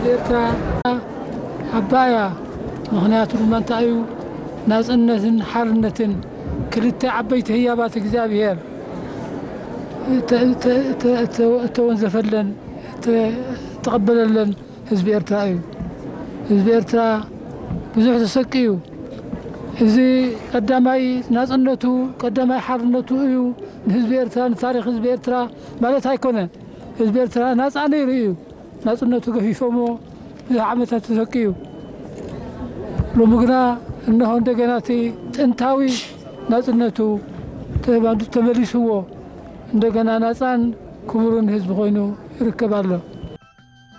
ኤርትራ ዓባያ። ምኽንያቱ ድማ እንታይ እዩ? ናጽነትን ሓርነትን ክልተ ዓበይቲ ህያባት እግዚኣብሔር እተ-፣ እተ-፣ እተ-፣ እተ-፣ እተወንዘፈለን፣ እተ-፣ እተቐበለለን ህዝቢ ኤርትራ እዩ። ህዝቢ ኤርትራ ብዙሕ ተሰቅዩ። እዚ ቀዳማይ ናጽነቱ፣ ቀዳማይ ሓርነቱ እዩ። ንህዝቢ ኤርትራ፣ ንታሪኽ ህዝቢ ኤርትራ ማለት ኣይኮነ። ህዝቢ ኤርትራ ናጻ ነይሩ እዩ። ናጽነቱ ገፊፎሞ ብዙሕ ዓመታት ተሰቅዩ። ሎሚ ግና እነሆ እንደገና እቲ ጥንታዊ ናጽነቱ ተባንዱ ተመሊስዎ፣ እንደገና ናጻን ክቡርን ህዝቢ ኮይኑ ይርከብ ኣሎ።